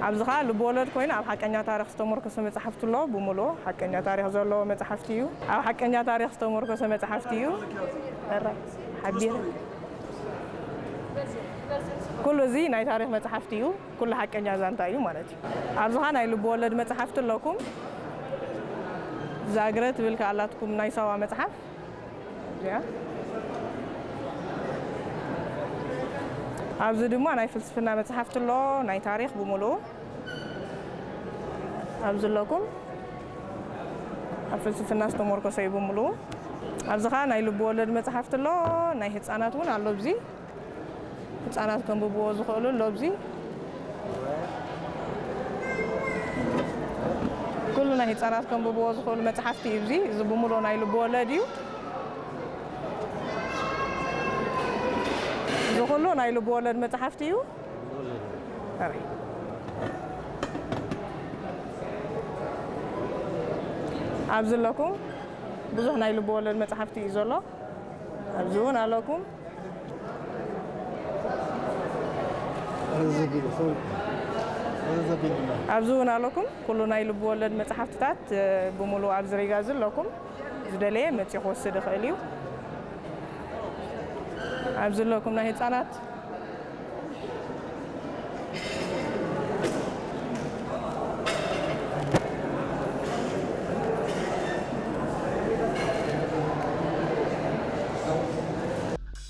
ኣብዚ ኸዓ ልብወለድ ኮይኑ ኣብ ሓቀኛ ታሪኽ ዝተመርኮሰ መጽሓፍቲ ኣሎ። ብምሉኡ ሓቀኛ ታሪኽ ዘለዎ መጽሓፍቲ እዩ። ኣብ ሓቀኛ ታሪኽ ዝተመርኮሰ መጽሓፍቲ እዩ። ሕራይ ሓቢረ። ኩሉ እዚ ናይ ታሪኽ መጽሓፍቲ እዩ። ኩሉ ሓቀኛ ዛንታ እዩ ማለት እዩ። ኣብዚ ኸዓ ናይ ልብወለድ መጽሓፍቲ ኣለኩም። ዛግረ ትብል ከኣ ኣላትኩም ናይ ሳዋ መጽሓፍ። እዚኣ። ኣብዚ ድማ ናይ ፍልስፍና መጽሓፍቲ ኣሎ፣ ናይ ታሪኽ ብምሉኡ። ኣብዚ ኣለኩም። ኣብ ፍልስፍና ዝተመርኮሰ እዩ ብምሉኡ። ኣብዚ ኸዓ ናይ ልብወለድ መጽሓፍቲ ኣሎ፣ ናይ ህጻናት እውን ኣሎ። ኣብዚ ህጻናት ከንብብዎ ዝኽእሉ ኣሎ። ኣብዚ ኩሉ ናይ ህጻናት ከንብብዎ ዝኽእሉ መጽሓፍቲ እዩ። እዚ፣ እዚ ብምሉኡ ናይ ልብወለድ እዩ። እዚ ኩሉ ናይ ልብወለድ መጽሓፍቲ እዩ። ኣረ። ኣብዚ ኣለኩም ብዙሕ ናይ ልብወለድ መጽሓፍቲ እዩ ዘሎ። ኣብዚ እውን ኣለኩም። ኣብዚ እውን ኣለኩም ኩሉ ናይ ልብወለድ መጽሓፍትታት፣ እ፣ ብምሉእ ኣብዚ ሪጋ እዚ ኣለኩም። ዝደለየ መጺኡ ክወስድ ይኽእል እዩ። ኣብዚ ኣለኩም ናይ ህጻናት